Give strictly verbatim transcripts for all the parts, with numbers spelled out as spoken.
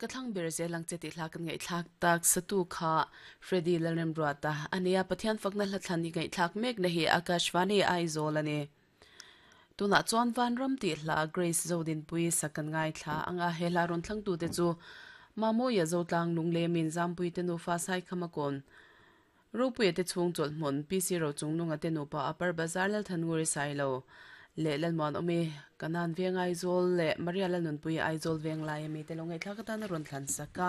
Ka thlang ber zelang che ti hla kan ngai thlak tak satu kha Freddy Lalremruata ania Pathian fakna hla thlan ni ngai thlak mek na hi Akashvani Aizawl ani tuna chuan van ram ti hla Grace Zodin pui sakan ngai thla anga hela ron thlang tu te chu Mamoya Zotlang lungle min zampui te nu fa sai khamakon Ropui te chung chol hmun P C ro chung nunga te nu pa Upper Bazar lal thannguri sailo le lalman omi kanan veng Aizawl le Maria lalnun pui Aizawl veng lai ami te longai thlak atan ron thlan saka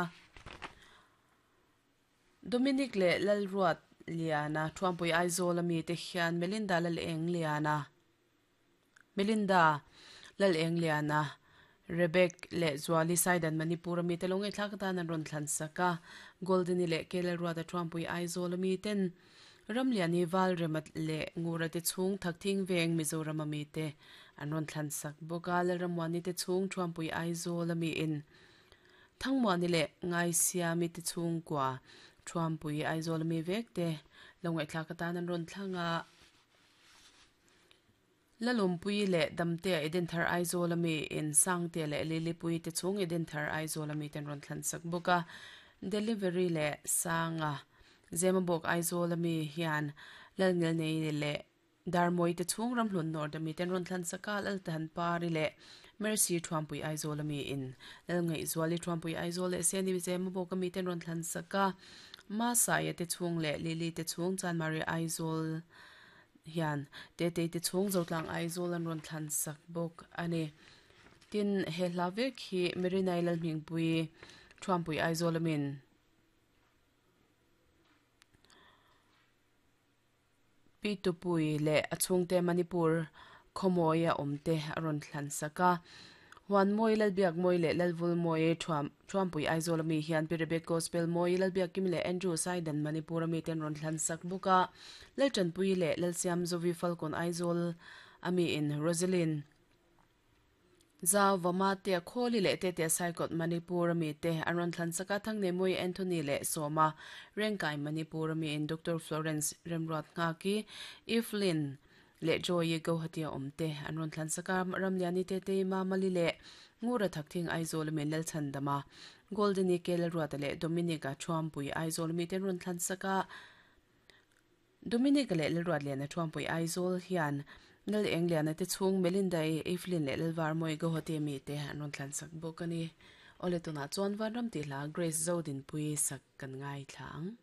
Dominic le Lalruat Liana Thuampui Aizawl ami te hian Melinda lal eng Liana Melinda lal eng Liana Rebek le Zuali Saidan Manipur ami te longai thlak atan ron thlan saka Golden le Kelalruat Thuampui Aizawl ami ten Ramliani val remat le ngura te chung thakthing veng Mizoram ami te an ron thlan sak boka le ramwani te chung Thuampui Aizawl ami in thangmani le ngai siami te chung kwa Thuampui Aizawl ami vek te longai thlak atan an ron thlanga Lalumpui le damte Eden Thar Aizawl ami in sangte le lilipui te chung Eden Thar Aizawl ami ten ron thlan sak boka delivery le sanga Zemabok Aizawl ami hian lalngel nei le darmoi te chung ramhlun nor dami ten ron thlan saka lal tan pari le Mercy Thuampui Aizawl ami in lalngai zuali Thuampui Aizawl le seni Zemabok ami ten ron thlan saka ma sai te chung le lili te chung Chanmari Aizawl hian te te te chung zotlang Aizawl an ron thlan sak bok ani tin he hla vek hi Merinai lal hmingpui Thuampui Aizawl amin Pitupui le achungte Manipur khomoya omte aron thlan saka huan moi lalbiak moi le lalvul moi thuam Thuampui Aizawl ami hian Pirebet Gospel moi lalbiak kim le Andrew Saidan Manipur ami ten ron thlan sak buka lalchanpui le lalsiam Zovi Falcon Aizawl ami in Rosalyn Zaw vama te kholi le te te saikot Manipur ami te aron thlan saka thangne moi Anthony le Soma Rengkai Manipur ami in Doctor Florence Remruat nga ki Evelyn le Joy Guwahati omte anron thlan saka ramliani te te ma mali le ngura thakthing Aizawl mi lal chandama Golden Kel ruat le Dominica Thuampui Aizawl mi ten ron thlan saka Dominica le ruat le na Thuampui Aizawl hian nal Engliana te chung Melinda e Evelyn le lalwar moi Guwahati mi te anron thlan sak bokani ole tuna chuan van ram ti hla Grace Zodin pui sak kan ngai thlang.